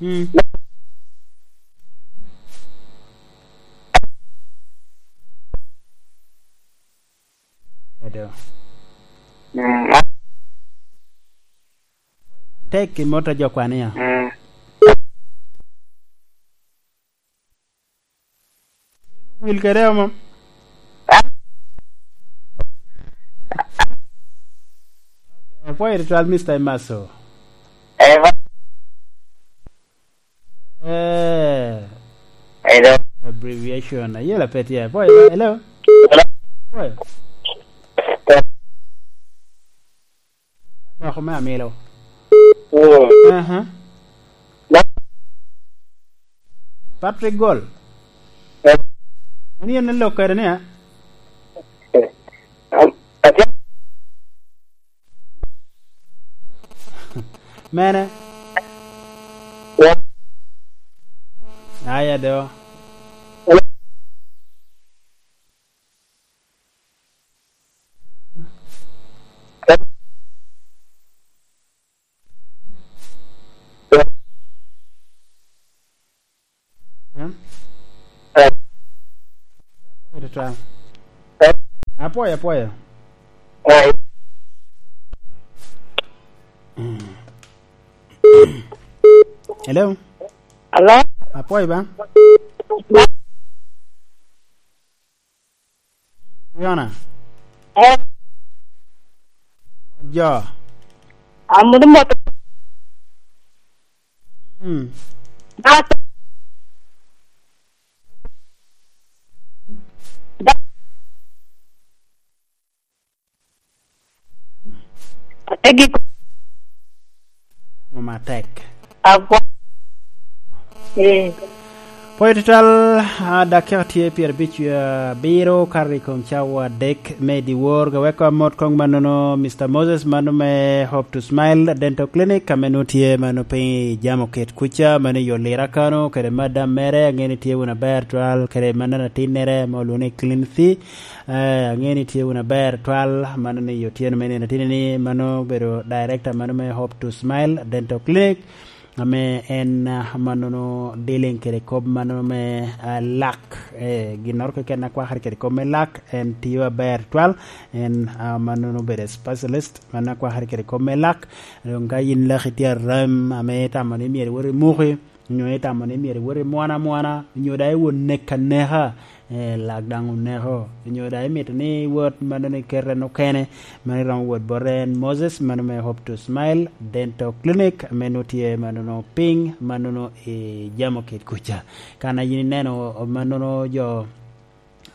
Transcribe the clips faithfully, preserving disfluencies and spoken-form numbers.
Mm. Edo. Tek i mot a jo kwan iya. Wil kede mom. Apwoyo tutwal, Mister Imaso. Eh. Hello. Abbreviation. Ayela pet ya. Apwoyo, hello. Hello. Apwoyo. Dok me amilo. Mm. Aha. Na- Patrick Gol. Eh. Mani en lok kede ni, a? Eh. Am-, atye- Mene? Ya. Aya do. Hello. Apwoyo, apwoyo. Mm. Hello? Hello? Apwoyo ba? Yona. Eh. Jo. Amut mot. Mm. Ba- Egi. Matek. Agwa-, eh. Pwoyo tutwal, a, dakika tye pyerabic, a, abiro kato i kom cawa adek me dyewor. Ka weko amot koŋ mannono, Mister Moses, mano me Hope to Smile Dental Clinic, ame nwoŋo tye mano piny i Jamo Kit kuca, mano i Olira kano, kede madam mere, aŋeo ni tye wunu aber twal, kede mannono atinnere, ame olwoŋo ni Clean Thee. Eh, aŋeo ni tye wunu aber twal, mano ni otyeno me nino atini ni, mano obedo director mano me Hope to Smile Dental Clinic, ame en, ah, mannono dealing kede kop mano me, ah, lak. Eh, ginnoro keken a kwakere kede kop me lak, en tio aber twal, en, ah, mannono obedo specialist, mano a kwakere kede kop me lak. Doŋ ka yin laki tye aram, ame itamo ni myero iwot i muki, nyo itamo ni myero iwot i mwana mwana, nyo daŋ iwot nek aneka, eh, lak daŋ oneko, nyo daŋ imito ni iwot mannono ikete en okene, mano iromo wot bot en Moses, mano me Hope to Smile Dental Clinic, ame nwoŋo tye mannono piny, mannono i Jamo Kit kuca. Kan a yin ineno mannono jo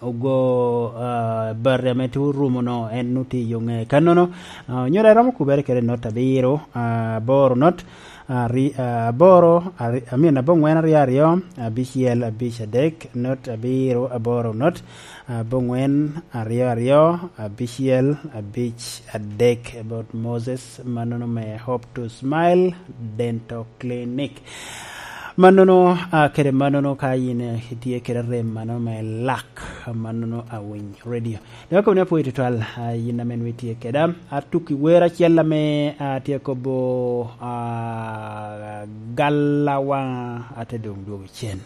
ogo, ah, bati ame tye orumo no, en nwoŋo tye i yo ŋe kannono. Ah, onyo daŋ iromo kubere kede not abiro, ah, aboro not, ah, ri-, ah, aboro, ari-, I mean, aboŋwen aryo aryo, abicel abic adek, not abiro, aboro not, aboŋwen aryo aryo, abicel abic adek, about Moses, mannono me Hope to Smile Dental Clinic. Mannono, ah, kede mannono ka yin, eh, itye kede rem mano me lak, mannono Awiny Radio. Dok akobo ni apwoyo tutwal, ah, yin ame nwoŋo itye keda. Atukki wer acel ame, ah, tye kobo, ah, Galla waŋa, ate doŋ dwogo cen.